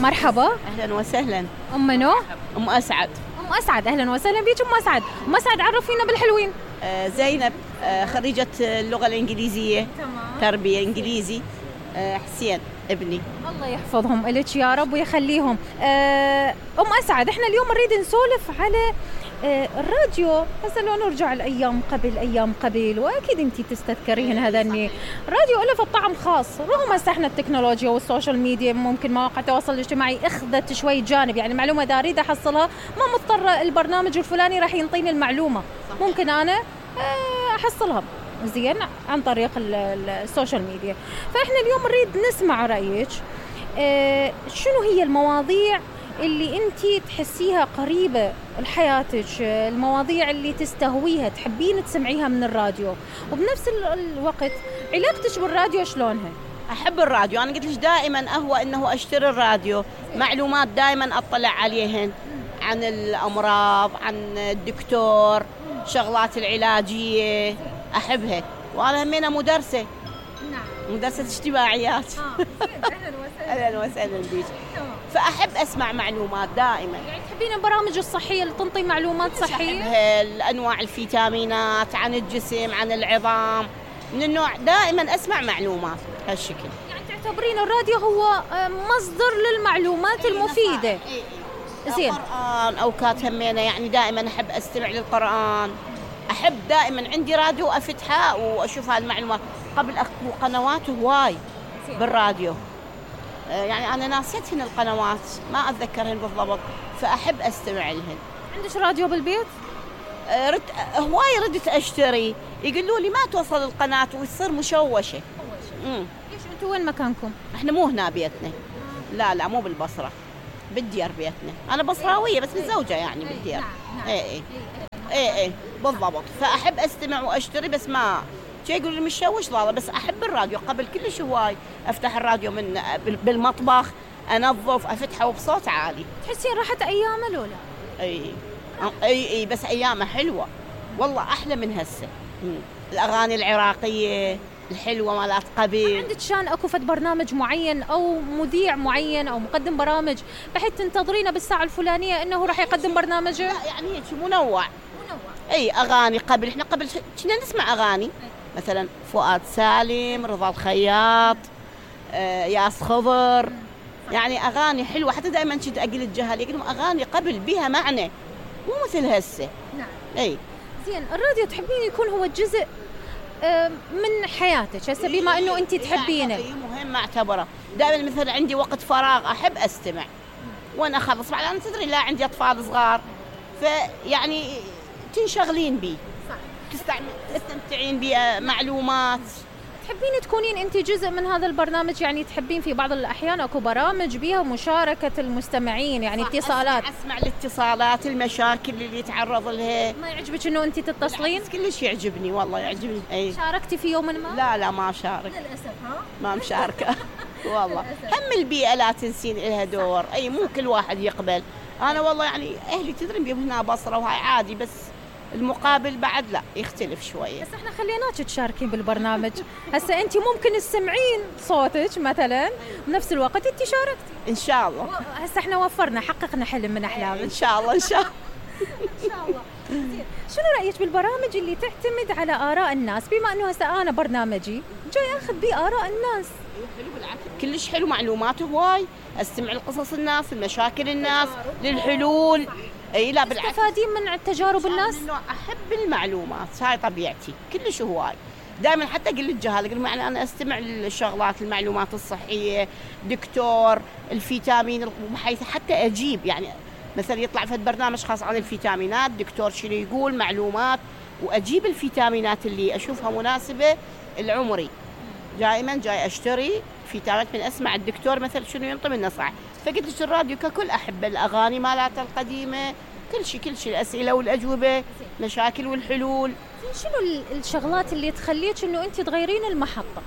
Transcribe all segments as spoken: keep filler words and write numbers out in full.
مرحبا. اهلا وسهلا. ام منو؟ ام اسعد. ام اسعد، اهلا وسهلا بيك ام اسعد. ام اسعد عرفينا بالحلوين. آه زينب، آه خريجة اللغة الإنجليزية. تمام. تربية إنجليزي. آه حسين ابني. الله يحفظهم إلك يا رب ويخليهم. آه ام اسعد، احنا اليوم نريد نسولف على آه الراديو. هسه لو نرجع الايام قبل ايام قبل، واكيد انت تستذكرين هذا اني الراديو له طعم خاص. رغم هسه احنا التكنولوجيا والسوشيال ميديا ممكن مواقع التواصل الاجتماعي اخذت شوي جانب، يعني معلومه اذا اريد احصلها ما مضطره البرنامج الفلاني راح ينطيني المعلومه، ممكن انا آه احصلها زين عن طريق السوشيال ميديا. فاحنا اليوم نريد نسمع رايك. آه شنو هي المواضيع اللي انتي تحسيها قريبة لحياتك، المواضيع اللي تستهويها تحبين تسمعيها من الراديو، وبنفس الوقت علاقتك بالراديو شلونها؟ أحب الراديو، أنا قلت لك دائما أهوى أنه أشتري الراديو، معلومات دائما أطلع عليهن عن الأمراض، عن الدكتور، شغلات العلاجية أحبها. وأنا همينة مدرسة. نعم. مدرسة اجتماعيات. آه. أهلا وسهلا. أهلا وسهلا بيك. فأحب أسمع معلومات دائما. يعني تحبين البرامج الصحية اللي تنطي معلومات صحية؟ أحبها، أنواع الفيتامينات، عن الجسم، عن العظام، من النوع دائما أسمع معلومات هالشكل. يعني تعتبرين الراديو هو مصدر للمعلومات المفيدة. زين. القرآن أوقات همينة، يعني دائما أحب أستمع للقرآن. أحب دائما عندي راديو أفتحها وأشوف هالمعلومات. قبل أكو قنوات هواي بالراديو، يعني أنا ناسيتهن القنوات ما أتذكرهن بالضبط، فأحب أستمع لهن. عندك راديو بالبيت؟ رد هواي ردت أشتري، يقولوا لي ما توصل القناة ويصير مشوشة. امم ليش أنتوا وين مكانكم؟ إحنا مو هنا بيتنا. لا لا مو بالبصرة، بالديار بيتنا. أنا بصراوية بس متزوجة يعني بالديار. إيه إيه إيه إيه بالضبط. فأحب أستمع وأشتري بس ما شيء يقول لي مشوش. لا بس أحب الراديو قبل كلش هواي. أفتح الراديو من بالمطبخ، أنظف، أفتحه بصوت عالي. تحسين راحت أيامه لولا؟ أي أي أي بس أيامه حلوة والله، أحلى من هسه. الأغاني العراقية الحلوة مالات قبل. عندك شان أكو فد برنامج معين أو مذيع معين أو مقدم برامج بحيث تنتظرينه بالساعة الفلانية إنه راح يقدم برنامجه؟ لا يعني هيك منوع. أي أغاني قبل، إحنا قبل كنا نسمع أغاني مثلا فؤاد سالم، رضا الخياط، آه، ياس خضر، يعني أغاني حلوة. حتى دائما كنت أقول الجهل يقولون أغاني قبل بها معنى، مو مثل هسه. نعم. أي زين. الراديو تحبين يكون هو جزء من حياتك هسه بما إنه أنت تحبينه؟ مهم أعتبره. دائما مثلا عندي وقت فراغ أحب أستمع وأنا أخلص. بعد أنا تدري لا عندي أطفال صغار، فيعني تنشغلين بي. صح. تستمتعين بمعلومات. تحبين تكونين أنت جزء من هذا البرنامج، يعني تحبين في بعض الأحيان أكو برامج بيها مشاركة المستمعين، يعني اتصالات. أسمع, أسمع الاتصالات، المشاكل اللي يتعرض لها. ما يعجبك إنه أنت تتصلين؟ كلش يعجبني والله، يعجبني. أي. شاركتي في يوم ما؟ لا لا ما شارك للأسف. ها؟ ما مشاركة. والله هم البيئة لا تنسين لها دور. أي مو كل واحد يقبل. أنا والله يعني أهلي تدرين بيهم هنا بصرة وهاي عادي، بس المقابل بعد لا يختلف شوية. بس احنا خليناك تشاركين بالبرنامج. هسه انت ممكن تسمعين صوتك مثلا بنفس الوقت انت شاركتي. ان شاء الله. هسه احنا وفرنا، حققنا حلم من احلامك. ان شاء الله ان شاء الله. ان شاء الله. شنو رايك بالبرامج اللي تعتمد على اراء الناس؟ بما انه هسه انا برنامجي جاي اخذ بيه اراء الناس. حلو بالعكس، كلش حلو، معلومات هواي. استمع لقصص الناس، المشاكل الناس، للحلول. اي لا بالعكس. تستفادين من تجارب الناس؟ احب المعلومات، هاي طبيعتي كلش هواي. دائما حتى اقول للجهال اقول يعني انا استمع للشغلات، المعلومات الصحيه، دكتور، الفيتامين، بحيث حتى اجيب يعني مثلا يطلع في برنامج خاص عن الفيتامينات، دكتور شنو يقول، معلومات، واجيب الفيتامينات اللي اشوفها مناسبه لعمري. دائما جاي اشتري فيتامينات من اسمع الدكتور مثلا شنو ينطي من نصائح. فقلت لك الراديو ككل احب، الاغاني مالته القديمه، كل شيء كل شيء، الاسئله والاجوبه، مشاكل والحلول. شنو الشغلات اللي تخليك انه انت تغيرين المحطه،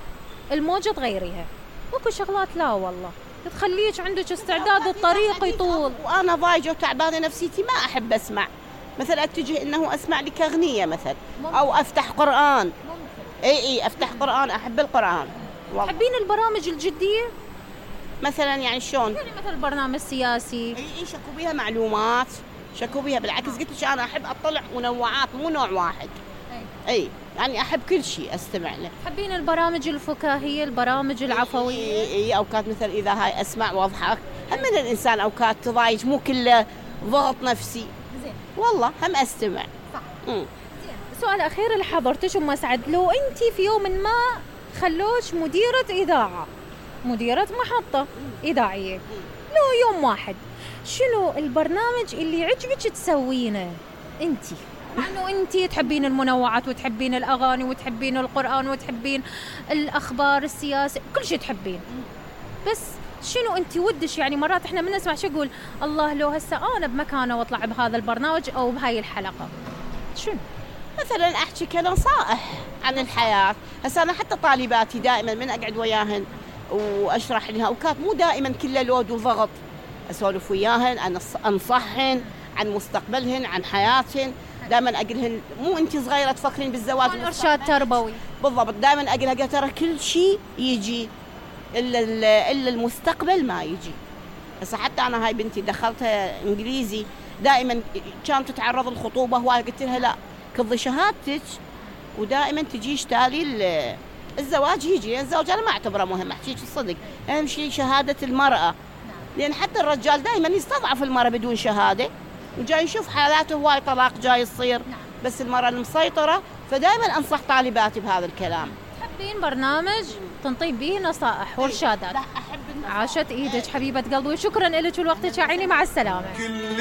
الموجه تغيريها؟ اكو شغلات لا والله تخليك عندك استعداد الطريق يطول. وانا ضايجه وتعبانه نفسيتي ما احب اسمع، مثلا اتجه انه اسمع لك اغنيه مثلا، او افتح قران. ممكن. اي اي افتح قران، احب القران. تحبين البرامج الجديه؟ مثلا يعني شلون؟ يعني مثل برنامج سياسي. اي اي شكو بيها معلومات، شكو بيها بالعكس. قلت لك انا احب اطلع منوعات مو نوع واحد. اي, أي. يعني احب كل شيء استمع له. تحبين البرامج الفكاهيه، البرامج العفويه؟ اي, أي اوقات مثل اذا هاي اسمع واضحك. هم من الانسان اوقات تضايج، مو كله ضغط نفسي. زين والله هم استمع. صح. امم سؤال اخير لحضرتك ام اسعد، لو انت في يوم ما خلوش مديره اذاعه، مديره محطه اذاعيه، لو يوم واحد، شنو البرنامج اللي يعجبك تسوينه انت؟ مع انه انت تحبين المنوعات وتحبين الاغاني وتحبين القران وتحبين الاخبار السياسه، كل شيء تحبين، بس شنو انت ودش؟ يعني مرات احنا من نسمع شو يقول الله لو هسه انا بمكانه واطلع بهذا البرنامج او بهاي الحلقه، شنو؟ مثلا احكي كنصائح عن الحياه. هسه انا حتى طالباتي دائما من اقعد وياهن واشرح لها، اوقات مو دائما كله لود وضغط، اسولف وياهن، انصحهن عن مستقبلهن، عن حياتهن. دائما اقولهن مو انت صغيره تفكرين بالزواج، ارشاد تربوي. بالضبط، دائما اقولها ترى كل شيء يجي الا الا المستقبل ما يجي. هسه حتى انا هاي بنتي دخلتها انجليزي، دائما كانت تتعرض للخطوبه هواي، قلت لها لا كضي شهادتك ودائما تجيش تالي الزواج يجي، لان الزواج انا ما اعتبره مهم، احكيك الصدق، اهم شيء شهاده المراه، لان حتى الرجال دائما يستضعف المراه بدون شهاده، وجاي نشوف حالاته هواي طلاق جاي يصير، بس المراه المسيطره. فدائما انصح طالباتي بهذا الكلام. تحبين برنامج تنطي به نصائح وارشادات؟ لا احب النصائح. عاشت ايدك حبيبه قلبي، وشكرا لك ولوقتك يا عيني، مع السلامه.